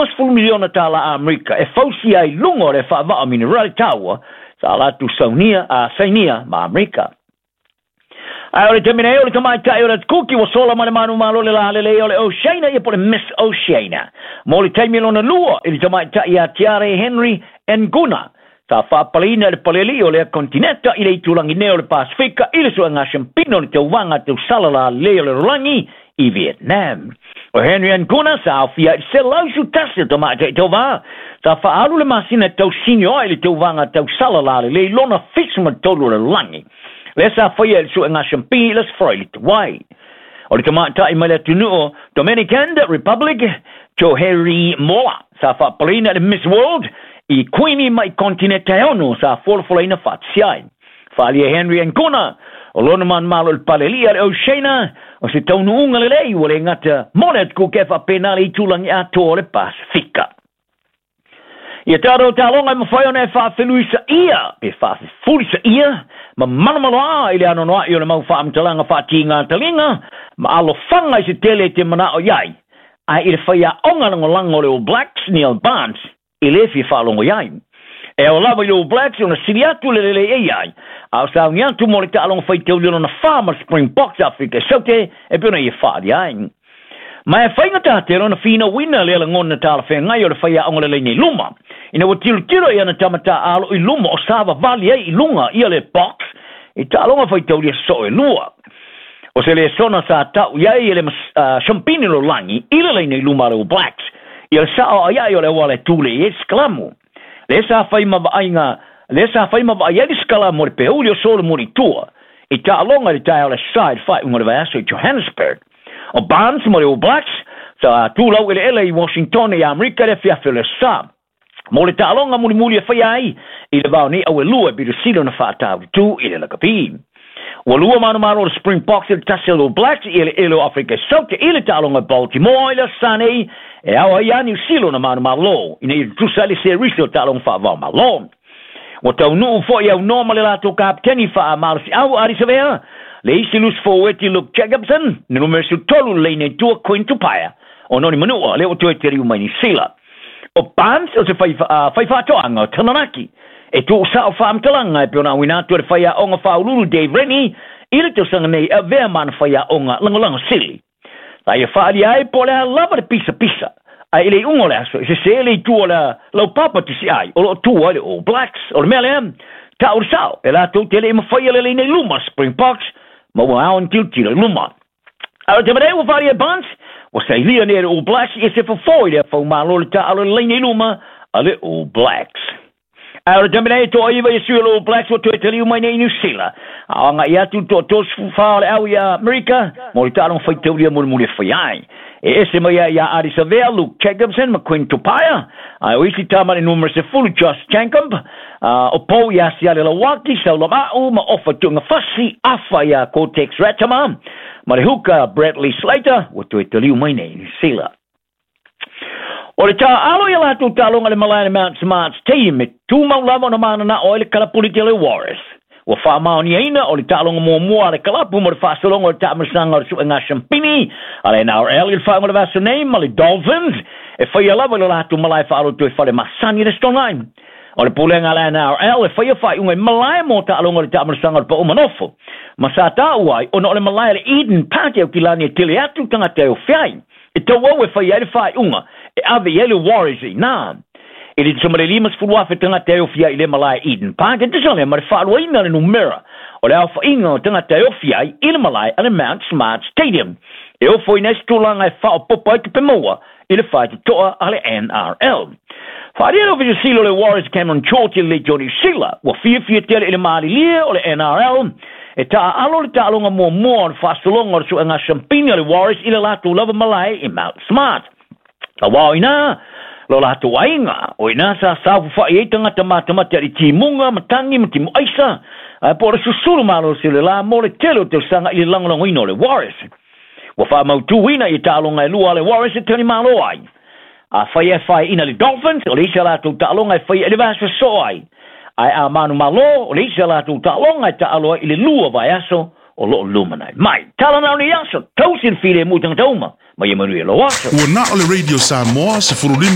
$50 miliona tālā Amerika e fausia ai luga o le faavaa minerali taua sa latou saunia a sainia ma Amerika. Ae o le taimi nei o le tamaitai o le Kuki ua sola mai le manumalo le lalelei o le Oceania ia po le Miss Oceania. Mo le taimi lona lua i le tamaitai ia Tiare Henry Nguna sa faapaleina le paleli o lea kontineta i le itulagi nei o le Pasifika i le suega siampina o le tauvaga tausala lalelei o le lalolagi i Vietnam. O Henry Nguna sa aofia i le 111 o tamaitai tauvā sa faaalu le masina e tausinio ai le tauvaga tausala lalelei lona 73 o le lalolagi. Lea sa faia i le suega siampini i le Aso Faraile tuai. O le tamaitai mai le atunuu o Dominican Republic, Joherry Mola, sa faapaleina i le Miss World i Kuini mai kontineta e ono sa folafolaina faatasi ai. Faaalia e Henry Angona, o lona manumalo i le palelia le Oceania, o se taunuuga lelei ua le gata mo le atukuke e faapena le itulagi atoa o le Pasifika. Ia tatou taaloga e mafai ona e faafeluisaia pe faafefulisaia ma malomaloa i le anoanoai o le mau faamatalaga faatiga taliga ma alofaga i se tele e te manao i ai, ae i le faiaoga lagolago o le All Blacks, Neil Barnes, e lē fia faalogo i ai. E ao lava i le All Blacks ona sili atu le lelei e i ai, a o sauni atu mo le taaloga faitauli lona fa ma le Springboks Afrika e Saute e pei ona ia faaalia ai. Ma e faigata tele ona finauina lea lagona talafeagai o le faiaoga lelei nei luma. Ina ua tilotilo i ana tama taaalo i luma o savavali ai i luga ia le box i taaloga faitaulia soo e lua. O se lesona sa tau i ai e le siampini lalolagi i le laina i luma a le All Blacks ia le sao aiai o le auala e tulei ai le sikalamu. Lea sa fai ma vaaiga lea sa fai ma vaai ai le sikalamu o le peuli o Solomon i tua i taaloga i le taeao o le Aso Sa i le faaiuga o le vaiaso i Johannesburg. O Barnes ma le All Blacks sa tulau eleele i Washington i Amerika i le afiafi o le Aso Sa. Mo le taaloga mulimuli e faia ai i le vao nei au e lua e pito sili ona faataulitu i le lakapi. Ua lua manumalo o le Springboks i le tasi o le All Blacks i eleele o Afrika e Saute i le taaloga i Baltimore i le Aso Sa nei e ao ai ia Niu Sila ona manumalo ina ia tutusa ai le serisi o taaloga faavao malo. Ua taunuu foi aunoa ma le latou kapeteni faamalosiau Ardie Savea, le isi lusi forweti Luke Jacobson, le numera 13 le laina i tua Quinn Tupaea o Noni Manua lea ua toe taliu mai Niu Sila. O Barnes o se fai, faifaatoaga o Taranaki e tuusao faamatalaga e pei ona auina atu e le faiaoga faauluulu Dave Rennie i le tausaga nei e avea ma ana faiaoga lagolago sili. Sa ia faaalia ai po o le a lava le pisapisa, ae i le iuga o le aso, e sesē le itu o le laupapa tusiai o lo o tu ai le All Blacks. O le mea lea, tau le sao, e latou te le i mafaia le laina i luma Springboks, ma ua ao ona tilotilo i luma. A o le taimi nei ua faaalia e Barnes, ua sailia nei e le All Blacks ia se fofo i le afaumalo le taaalo i le laina i luma a le All Blacks. Ae o le taimi nei e toaiva ia sui o le All Blacks ua toe taliu mai nei i Niu Sila. A o agai atu le toa-34 o le au i Amerika mo le taaloga faitaulia mulimuli e fai ai. E ese mai ai ia Ardie Savea, Luke Jacobson ma Quinn Tupaea, ae o isi tama i le numera 10 Josh Jacob, o Paul ia Siale Lauaki, Saula Ma'u ma Ofa Tu'ungafasi, Afa ia Cortex Ratima ma le hooker Bradley Slater ua toe taliu mai nei i Niu Sila. O le taaalo i a latou taaloga i le malae a le Mount Smart Stadium e tumau lava ona mananao ai le kalapu i le tele o Warriors. Ua faamaoniaina o le taaloga muamua a le kalapu mo le faasologa o le taamilosaga o le suega siampini a le NRL i le faaiuga o le vaiaso nei ma le Dolphins e faia lava i lo latou malae faaloto i fale masani i le Aso Toonai. O le pulega a le NRL e faia faaiuga i malae mo taaloga o le taamilosaga o le pau manofo ma sa taua ai ona o le malae a le Eden Park e Aukilani e tele atu tagata e ofe ai. E tauau e fai ai le faaiuga e ave i ai le Warriors i ina. E le tusa ma le 50,000 tagata e ofi ai i le malae Eden Park, e tusa lea ma le faaluaina o le numera o le aofaiga o tagata e ofi ai i le malae a le Mount Smart Stadium. E ofoina ai se tulaga e faaopoopo ai tupe maua i le faitotoa a le NRL. Faaalia le Ofisa Sili o le Warriors Cameron Chorty i le Leitio Niu Sila, ua fiafia tele i le malilie o le NRL e taaalo le taaloga muamua o le faasologa o le suega siampini a le Warriors i le latou lava malae i Mount Smart. Aua o ina lo latou aiga, o ina sa saofafai ai tagata matamate a le timuga, matagi ma timu aisa, ae po o le susulu malosi o le la mo le tele o tausaga i le lagolagoina o le Warriors. Ua faamautuina i taaloga e lua a le Warriors e talimalo ai. Afai e faeaina le Dolphins, o le isi a latou taaloga e faia i le vaiaso e soo ai. Ae a manumalo, o le isi a latou taaloga e taalo ai i le lua vaiaso o lo o lumanai mai. Tala na o nei aso, tausi le filemu i tagata uma, ma ia manuia lou aso. Ua na o le Radio Samoa 15.